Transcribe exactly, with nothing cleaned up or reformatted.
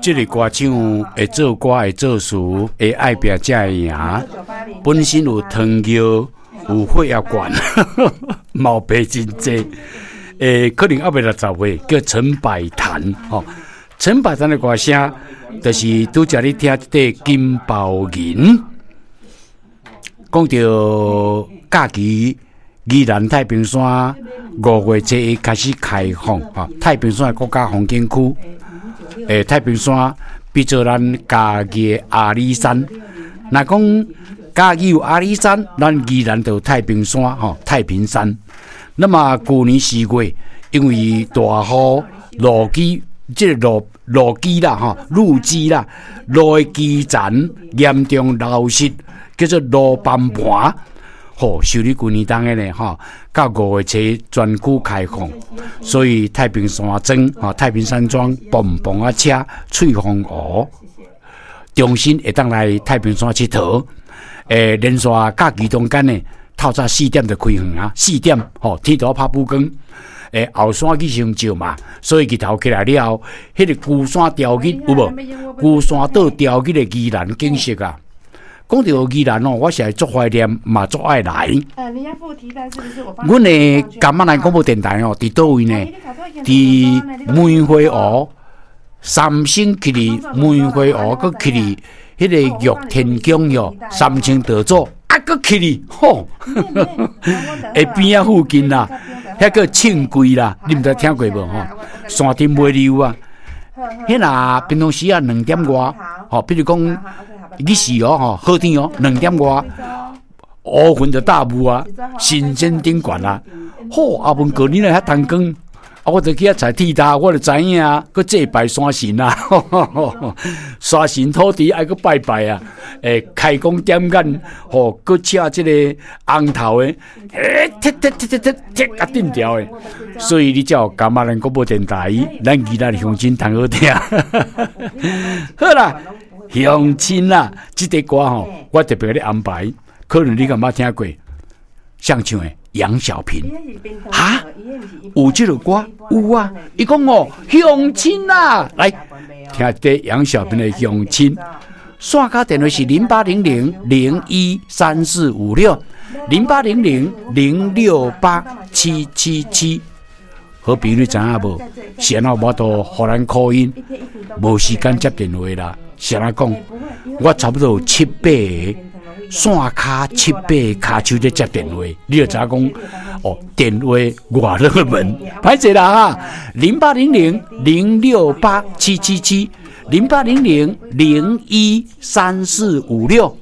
這個歌手會做歌，會做詞，會愛拼才會贏。本身有糖尿，有血壓懸，毛病真濟。欸，可能猶未六十歲，叫陳百潭。吼，陳百潭的歌聲，就是拄才你聽這個金包銀。講著假期，宜蘭太平山五月初一開始開放，吼，太平山的國家風景區。欸，太平山比做咱嘉義的阿里山。若講嘉義有阿里山，咱宜蘭就有太平山，吼，太平山。那麼舊年四月，因為大雨路基，這個路路基啦，吼，路基啦，路的基層嚴重流失，叫做路崩盤。吼，修理舊年冬的呢，吼，到五月初全區開放，所以太平山莊，吼，太平山莊，蹦蹦仔車，翠峰湖，重新會當來太平山𨑨迌。欸，連續假期中間呢，透早四點就開園啊，四點，吼，天都拍補光。欸，後山去傷少嘛，所以日頭起來了後，彼個龜山吊日有無？龜山島吊日的宜蘭景色啊！講著宜蘭哦，我實在足懷念，嘛足愛來。阮的甘仔蘭廣播電台哦，佇佗位呢？佇梅花湖三星去哩梅花湖，閣去哩彼個玉天宮喲，三清道祖啊，閣去哩吼，下邊仔附近啦，遐個慶桂啦，你毋知聽過無吼？山頂尾溜啊，彼若平常時啊兩點外，吼，比如講日時哦吼，好天哦，兩點外，烏雲就大霧啊，神仙頂懸啊，好，阿文哥你來遐燈光，啊，我就去遐採鐵塔，我就知影啊，閣祭拜山神啊，山神土地愛閣拜拜啊，欸，開光點眼，吼，閣請這個紅頭的，欸，踢踢踢踢踢踢共震掉的，所以你才有感覺咱廣播電台，咱宜蘭鄉親通好聽。好啦，鄉親啦，這個歌吼，我特別共你安排，可能你敢捌聽過，誰唱的？楊小平，哈，有這个歌？有啊，伊講哦，鄉親啊，來聽這楊小平的鄉親。線跤電話是零八零零零一三四五六零八零零零六八七七七。好朋友你知影無？是按怎無法度予咱 call in，無時間接電話啦。是按怎講？我差不多有七八個線跤七八个跤手咧接電話，你就知影講哦，電話偌熱門，歹勢啦哈！零八零零零六八七七七，零八零零零一三四五六。